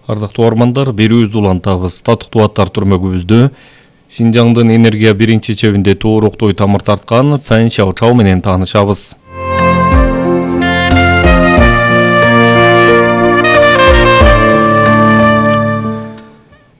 Ардактуу угармандар, берүүбүздү улантабыз. Татыктуу аттар түрмөгүбүздө Синжаңдын энергия биринчи чебинде тооруктой тамыр тарткан Фэн Шаочао менен таанышабыз.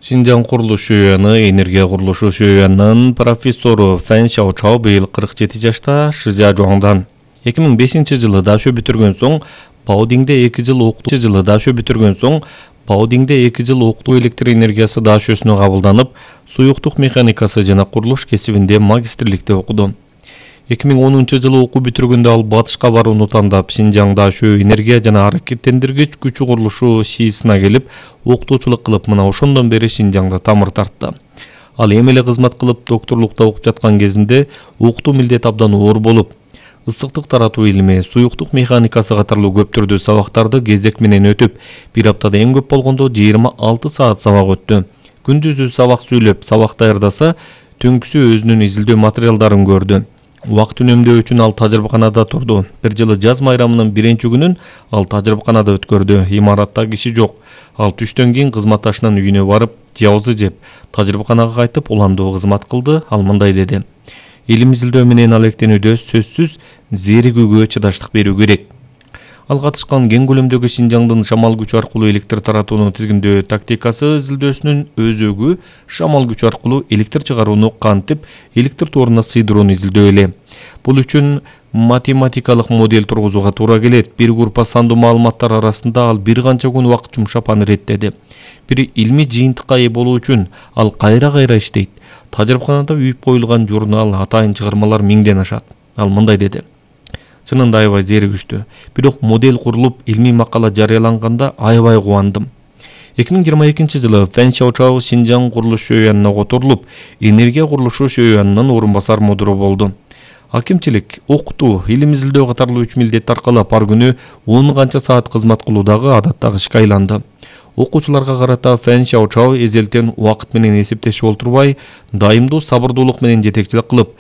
Синжаң курулуш шөйөөнү энергия курулушу шөйөөнүнүн профессору Фэн Шаочао быйыл 47 жашта Шижиажуаңдан. 2005-жылы дашөө бүтүргөн соң Баодиңде 2 жыл Баодиңде 2 жыл окутуу электр энергиясы дашөөсүнө кабылданып, суюктук механикасы жана курулуш кесибинде магистрликте окуду. 2010-жылы окуу бүтүргөндө ал батышка барууну тандап, Синжаң дашөө энергия жана аракеттендиргич күчү курулушу СИИСына келип, окутуучулук кылып, мына ошондон бери Синжаңда тамыр тартты. Ал эми эле кызмат кылып, докторлукта окуп жаткан кезинде окутуу милдети абдан оор болуп, ысыктык таратуу илми, суюктук механикасы катарлуу көп түрдүү сабактарды кезек менен өтүп, бир аптада эң көп болгондо 26 саат сабак өттү. Күндүзү сабак сүйлөп, сабак даярдаса, түнкүсү өзүнүн изилдөө материалдарын көрдү. Убакыт үнөмдөө үчүн ал тажрыйбаканада турду. Бир жылы жаз майрамынын биринчи күнүн ал тажрыйбаканада өткөрдү. Имаратта киши жок. Ал түштөн кийин кызматташынын үйүнө барып, жабызы жеп, тажрыйбаканага кайтып уландуу кызмат кылды. Ал мындай деди: илим изилдөө менен алектенүүдө сөзсүз зеригүүгө чыдаштык берүү керек. Ал катышкан кең көлөмдөгү Синжаңдын шамал күчү аркылуу электр таратууну тизгиндөө тактикасы изилдөөсүнүн өзөгү шамал күчү аркылуу электр чыгарууну кантип электр торуна сыйдырууну изилдөө эле. Бул үчүн математикалык модель тургузууга туура келет. Бир группа сандуу маалыматтар арасында ал бир канча күн убакыт жумшап аны реттеди. Бир илмий жыйынтыкка ээ болуу үчүн ал кайра иштейт. Тажрыйбаканада үйүп коюлган журнал, атайын чыгармалар 1000ден ашат. Ал мындай деди: чынында аябай зеригиштүү. Бирок модель курулуп, илмий макала жарыяланганда аябай кубандым. 2022-жылы Фэн Шаочао Синжаң курулуш шөйөөнүнө которулуп, энергия курулушу шөйөөнүнүн орун басар мудуру болду. Акимчилик, окутуу, илим изилдөө катарлуу 3 милдет аркылап ар күнү 10 канча саат кызмат кылуу дагы адаттагы ишке айланды. Окуучуларга карата Фэн Шаочао эзелтен убакыт менен эсептешип олтурбай, дайымдуу сабырдуулук менен жетекчилик кылып,